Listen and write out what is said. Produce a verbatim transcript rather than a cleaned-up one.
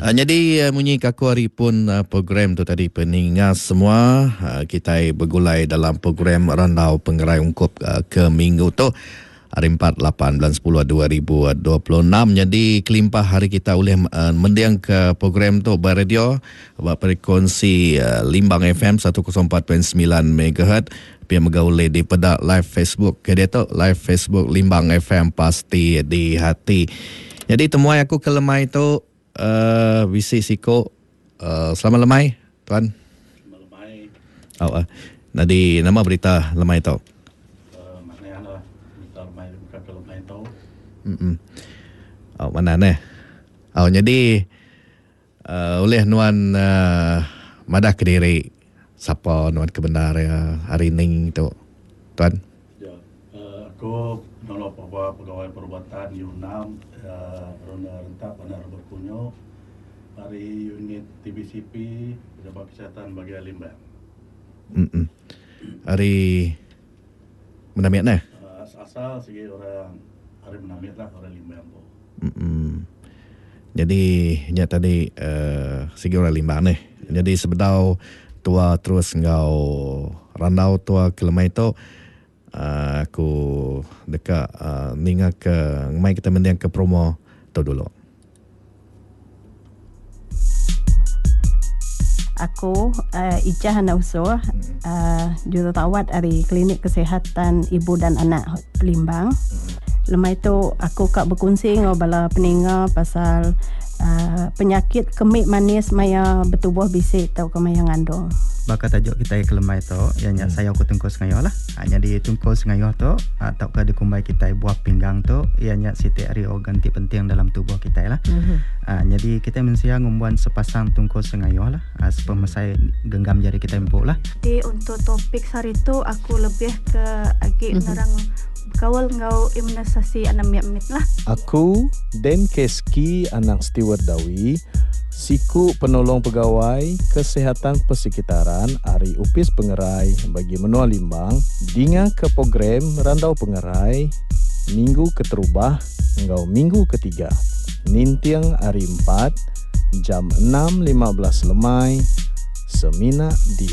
Nyadi munyi ke aku hari pun program tu tadi peninga semua kitai begulai dalam program Randau Pengerai ungkup ke minggu tu hari empat lapan bulan sepuluh dua ribu dua puluh enam. Jadi kelimpah hari kita ulih mending ke program tu ba radio ba frekuensi Limbang F M seratus empat titik sembilan megahertz, pia mega ulih dipeda live Facebook ke dia tu live Facebook Limbang F M pasti di hati. Jadi temuai aku ke lemai tu Uh, bisi siko uh, selamat lemai tuan. Selamat lemai. Oh, uh, nadi nama berita lemai tu? Uh, mana lah berita lemai bukan ke lemai tu. Mm. Oh, mana ne? Oh, jadi uh, oleh nuan uh, madah ke diri siapa nuan kebenar ya hari ni tu tuan? Ya, uh, aku nolong pegawai perubatan U enam uh, Ronda Rentap Bandar Berkunyo dari unit T B C P Pejabat Kesihatan Bahagian Limbang. Mm. Hari Menamit neh? Uh, asal segi orang hari Menamit lah, orang Limbang tu. Mm. Jadi nya tadi uh, segi orang Limbang neh. Jadi sebedau tua terus ngau randau tua ke lemai tu Uh, aku dekat uh, ninga ke mai kita mendiang ke promo tu dulu. Aku uh, Ijah Anak Usuh, uh, jururawat dari Klinik Kesihatan Ibu dan Anak Limbang. Lemai tu aku kak berkongsi ngau bala peninga pasal uh, penyakit kemik manis maya bertubuh bisik atau ke maya ngandung. Bakal tajuk kita ke lemai tu yang hmm. saya aku tungkul sengayoh lah. Ha, jadi tungkul sengayoh tu atau ke dikumbai kita buah pinggang tu ianya siti ari organ ti penting dalam tubuh kita lah. Hmm. Ha, jadi kita mensia ngumbuan sepasang tungkul sengayoh lah. Ha, sepemesai genggam jari kita empuk lah. Jadi untuk topik hari tu aku lebih ke agi hmm. nerang kawal ngau imunisasi anak mit lah. Aku Den Keski anak Stewart Dawi, siku penolong pegawai kesihatan persekitaran Ari Upis Pengerai bagi Menua Limbang dinga ke program Randau Pengerai minggu keterubah ngau minggu ketiga nintiang hari empat jam enam lima belas lemai semina di